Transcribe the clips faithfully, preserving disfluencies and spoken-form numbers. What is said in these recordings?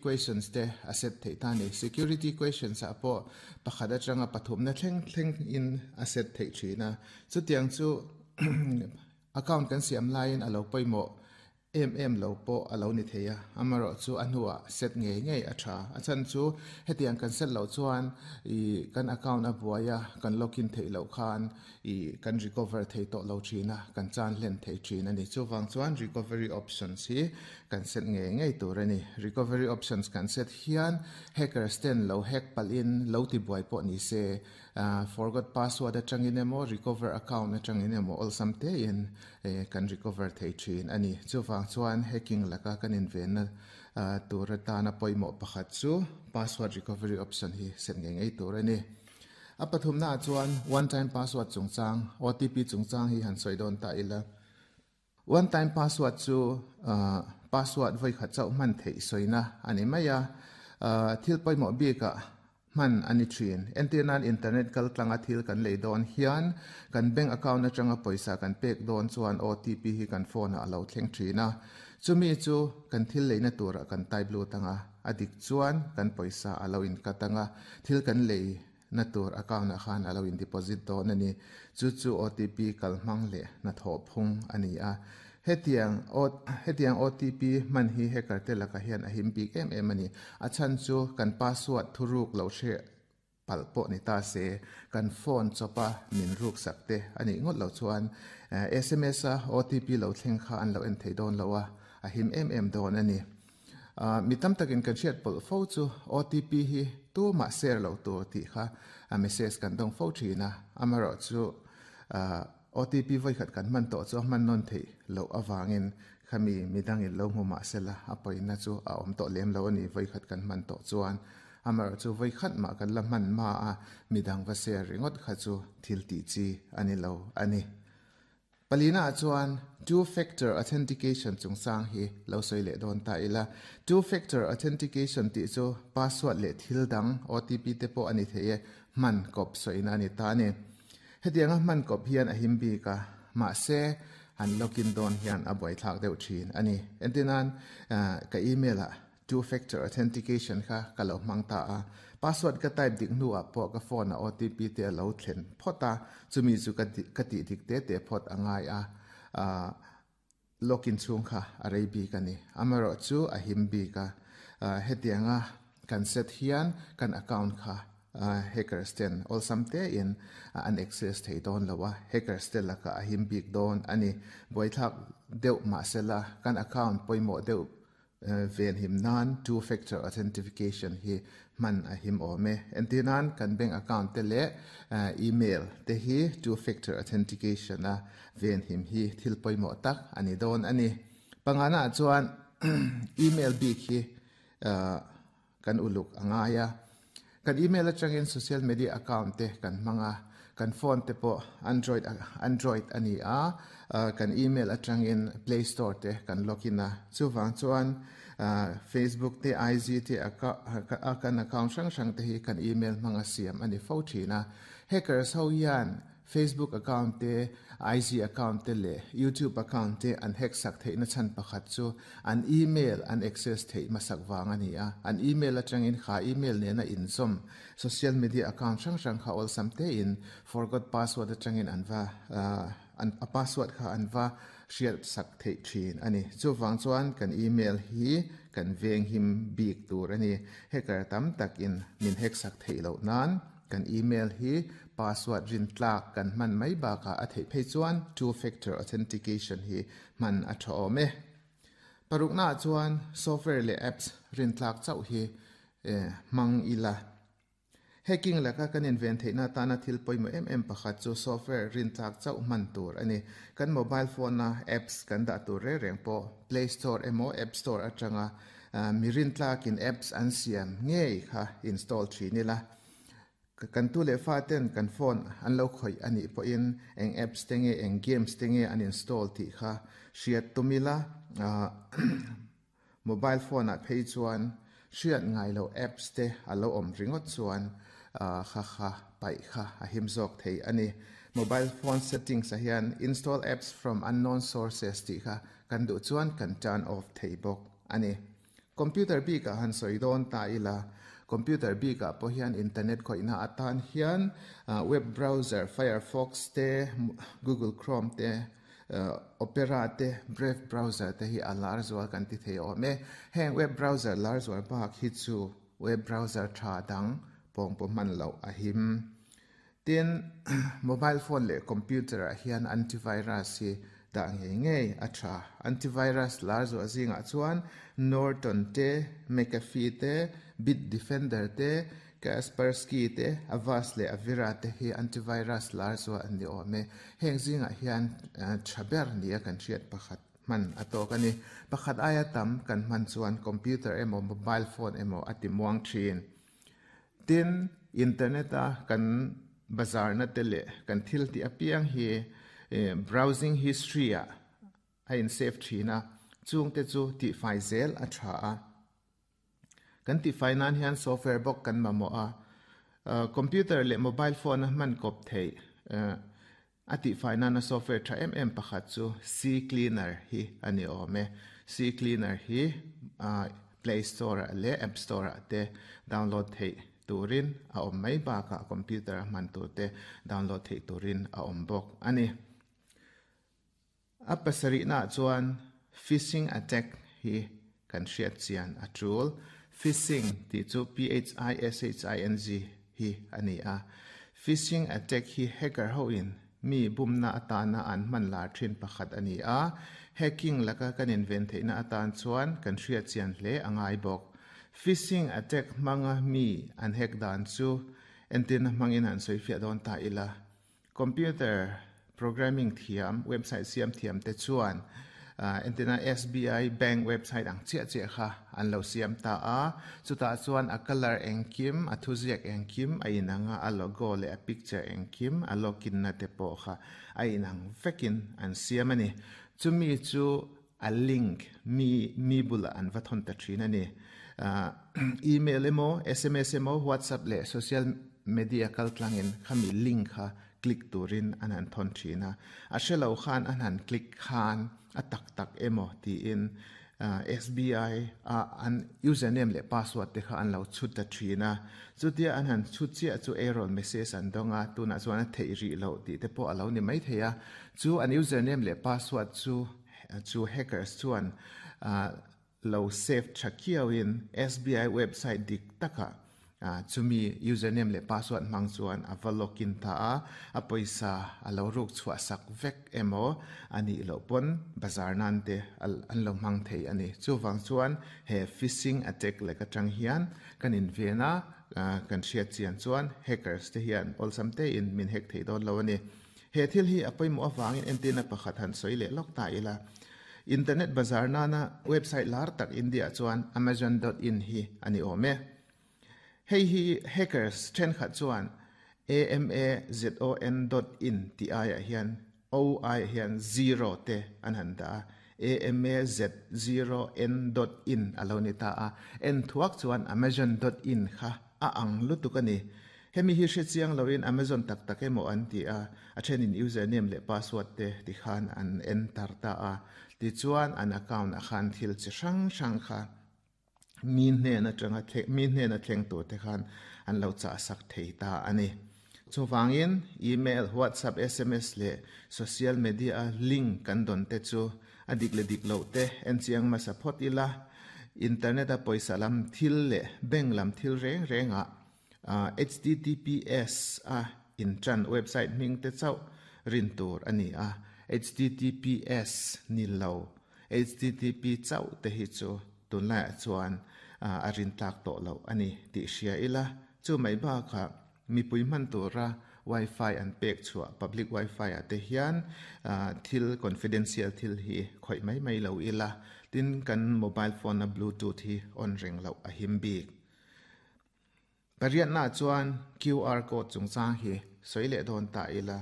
Questions te a set thei ta ni. Security questions ah pawh pakhat atanga pathum na thleng thleng in a set thei thina. Chutiang chu account kan siam laiin alo pawimawh em em lo pawh alo ni thei a. Amarawh chu a hnuah set ngei ngei a tha. A chan chu hetiang kan set lo chuan i kan account a buaia kan login thei lo khan i kan recover thei tawh lo thina, kan chan hlen thei thin ani. Chuwang chuan recovery options hi kan set ngei ngei tur ani. Recovery options kan set hian hackers ten lo hack palin lo ti buai pawh ni se, forgot password atangin emaw, recover account atangin emaw, awlsam te in kan recover thei thin ani. Chuwang chuan hacking laka kan in ven na tur atana pawimawh pakhat chu password recovery option hi set ngei ngei tur ani. A pathum na chuan one time password chungchang, O T P chungchang hi han sawi dawn ta ila. One time password chu password voi khat chauh hman theih soina ani mai a. Thil pawimawh bika man ani thin. Entirnan, internet kal tlanga thil kan lei dawn hian, kan bank account atanga pawisa kan pek dawn chuan O T P hi kan phone a lo thleng thina. Chumi chu kan thil leina tura kan type lut anga, adik chuan kan pawisa alo in katanga, thil kan lei na tur account a khan alo in deposit dawn ani. Chu chu O T P kal hmang le na tho phung ani a. Hetiang o hetiang O T P man hi hacker te laka hian a him bik em em ani. A chan chu kan password thuruk lo hre pal pawh ni ta se, kan phone chopa min ruk sak te ani ngot lo chuan S M S a O T P lo thleng kha an lo en thei dawn lo a, a him em em dawn ani. Mi tam takin kan hriat pawlh fo chu O T P hi tu ma share lo tur tih kha a message kan dawng fo thina. Amarawh chu O T P voi khat kan man to chu man non thei lo awangin khami midang in lo hmu ma sela a poina chu a awm tawh lem lo ani. Voi khat kan man tawh chuan, amar chu voi khat ma kan la man ma a midang va share ringot kha chu thil ti chi ani lo ani. Palina chuan two factor authentication chungchang hi lo soi le don ta ila. Two factor authentication ti chu password le thil dang, O T P te pawh ani thei e, man kop soina ani ta ni. Hetianga man kop hian a him bi ka ma se han login don hian a boi thlak deuh thin ani. Entinan, ka email a two factor authentication kha ka lo hmang ta a. Password ka type dik nu a pawh ka phone a O T P te lo thlen phota, chumi chu ka ka ti dik te te phot angai a, login chung kha a rei bi ka ni. Amaro chu a him bi ka. Hetianga kan set hian kan account kha hackers ten awlsam te in an access thei dawn lowa, hackers te laka a him bik dawn ani. Buaithlak deuh ma sela kan account pawimawh deuh ven him nan two factor authentication hi man a him awm e. Entinan, kan bank account te leh email te hi two factor authentication a ven him hi thil pawimawh tak ani dawn ani. Pangana chuan email bik hi kan uluk angaya. Kan email atangin social media account te kan hmanga, kan phone te pawh android android ani a, kan email atangin Play Store te kan login a. Chuwang chuan Facebook te, I G te, kan account hrang hrang te hi kan email hmanga siam ani fo thina. Hackers ho hian Facebook account te, I G account te le YouTube account te an hack sak theih na chan pakhat chu an email an access theih masak wang ani a. An email atangin kha email ne na inzawm social media account hrang hrang kha awlsam te in forgot password atangin an va an a password kha an va hriat sak theih thin ani. Chuwang chuan kan email hi kan veng him bik tur ani. Hacker tam takin min hack sak theih lo nan kan email hi password rin tlak kan man mai baka a theih phei chuan two factor authentication hi man a tha awm e. Parukna chuan software le apps rin tlak chauh hi mang ila. Hacking laka kan in ven theihna tana thil pawimawh em em pakhat chu software rin tlak chauh man tur ani. Kan mobile phone na apps kan dah tur re reng pawh Play Store emaw App Store atanga mi rin tlakin apps an siam ngei kha install thin ila. Kan tu le fa ten kan phone an lo khoi ani pawhin eng apps te nge, eng games te nge an install tih kha hriat tumila. Mobile phone a phei chuan hriat ngai lo apps te alo awm ringawt chuan kha kha paih kha a him zawk thei ani. Mobile phone settings a hian "install apps from unknown sources" tih kha kan duh chuan kan turn off thei bawk ani. Computer bi ka han soi don ta ila computer bi ka po hian internet khoina atan hian web browser Firefox te Google Chrome te Opera te Brave browser te hi alar zual kan ti thei ome heng web browser lar zual bak hi chu web browser tha dang pong po man lo a him. Tin mobile phone le computer a hian antivirus hi da nge nge a tha. Antivirus lar zual zinga chuan Norton te McAfee te Bitdefender te Kaspersky te Avast le Avira te hi antivirus lar zual an ni ome heng zinga hian thaber ni a kan thiat pakhat man atok ani pakhat aya tam kan man chuan computer emo mobile phone emo ati muang thin. Tin internet a kan bazar na tele kan thil ti apiang hi browsing history a a in save thina chung te chu ti fai zel a tha a kan ti fai nan hian software bok kan mamo a computer le mobile phone man kop thei ati fai nan a software tha em em pakhat chu C cleaner hi ani ome. C cleaner hi Play Store le App Store te download thei turin a om mai ba ka computer man tu te download thei turin a om bok ani. A pasari na chuan phishing attack hi kan hriat chian a tul. Phishing ti chu P H I S H I N G hi ani a. Phishing attack hi hacker ho in mi bumna atana an man lar thin pakhat ani a. Hacking laka kan invent theina atan chuan kan hriat chian hle angai bok. Phishing attack manga mi an hack dan chu entin mangin an soi fia don ta ila. Computer programming thiam website siam thiam te chuan entina S B I bank website ang chia chia kha an lo siam ta a. Chuta chuan a color engkim a thuziak engkim a inanga a logo le a picture engkim a login na te po kha a inang vekin an siam ani. Chumi chu a link mi mi bula an vathon ta thin ani. Email emo S M S emo WhatsApp le social media kal tlangin khami link kha click turin an han thon thina a hrelo khan an han click khan a tak tak emo ti in S B I a an username le password te kha an lo chut ta thina chutia an han chut chia chu error message an donga tuna chuan a thei ri lo ti te pawh alo ni mai theia chu an username le password chu chu hackers chuan lo save thakiawin S B I website dik taka chumi username le password mang chuan ava login ta a a poisa alo ruk chua sak vek emo ani lo pon bazar nan te an lo mang thei ani. Chu wang chuan he phishing attack le ka tang hian kan in vena kan hriat chian chuan hackers te hian olsam te in min hack thei don lo ani. He thil hi apoimo awangin entina pakhat han soi le lok ta ila. Internet bazar nana website lar tak India chuan amazon dot in hi ani ome. Hei hi hackers then khat chuan amazon dot in ti ai a hian o i hian zero te an han da amaz zero n dot in alo ni ta a en thuak chuan amazon dot in kha a ang lutuk ani. Hemi hi hre chiang loin Amazon tak tak emo an ti a a then in username le password te ti khan an enter ta a ti chuan an account a khan thil chi hrang hrang kha min hne na tanga the min hne na thleng tur te khan an lo cha sak thei ta ani. Chuwangin email WhatsApp S M S le social media link kan don te chu adik le dik lo te en chiang ma support ila internet a poisa lam thil le bank lam thil reng renga H T T P S a in tran website ming te chau rin tur ani a H T T P S ni lo H T T P chau te hi chu tun lai chuan a rin tak to lo ani ti hria ila. Chu mai ba kha mi pui man tura wifi an pek chua public wifi ate hian thil confidential thil hi khoi mai mai lo ila. Tin kan mobile phone na bluetooth hi on ring lo a him bik. Pariat na chuan Q R code chungchang hi soile don ta ila.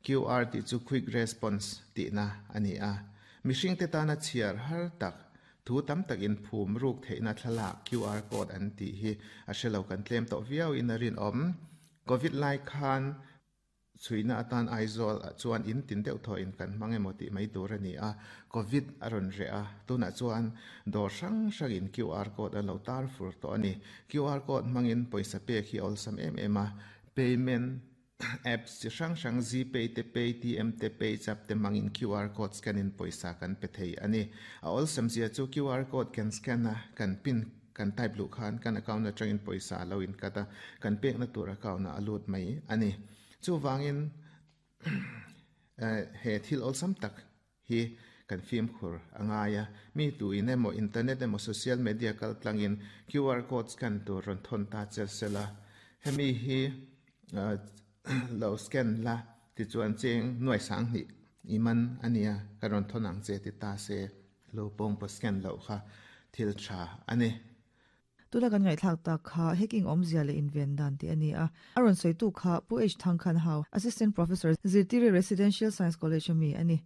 Q R ti chu quick response ti na ani a. Mihring te tana chiar har tak thu tam tak in phum ruk theina thlala Q R code an ti hi a hrelo kan tlem to viau in a rin om. Covid lai khan Chuina atan Aizawl ah chuan in tin deuh thaw in kan hmang emaw tih mai tur a ni a, Covid a rawn reh a, tunah chuan dawr hrang hrang in Q R code an lo tar fur tawh a ni. Q R code hmangin pawisa pek hi a awlsam em em a, payment apps chi hrang hrang GPay te, Paytm te, PayZapp te hmangin Q R code scan in pawisa kan pe thei a ni. A awlsam zia chu Q R code kan scan a, kan pin kan type luh khan kan account atangin pawisa a lo in cut a, kan pekna tur account ah a lut mai a ni. Chuvangin he thil awlsam tak hi kan fimkhur a ngai a, mi tu in emaw internet emaw social media kal tlangin Q R code scan tur rawn thawn ta chel sela, hemi hi lo scan la tichuan cheng nuai sang hnih i man a nia ka rawn thawn ang che ti ta se, lo pawng pawh scan loh kha thil tha a ni. Tuna kan ngaihthlak tak kha hacking awmzia leh inven dan tih a ni a. A rawn sawitu kha Pu H Thangkhan Hau, Assistant Professor, Zirtiri Residential Science College a mi a ni.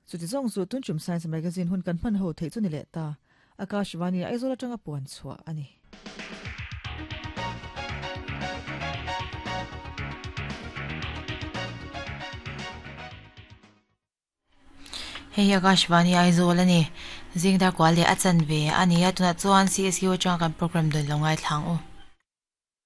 Chuti zawng chu Tunchum Science Magazine hun kan hman ho theih chu ni leh ta. Akashvani Aizawl atanga puan chhuah a ni. Hei hi Akashvani Aizawl a ni. Zingdar kual leh a chanve a ni a, tunah chuan C S U atanga kan program dawn lo ngaithlang u.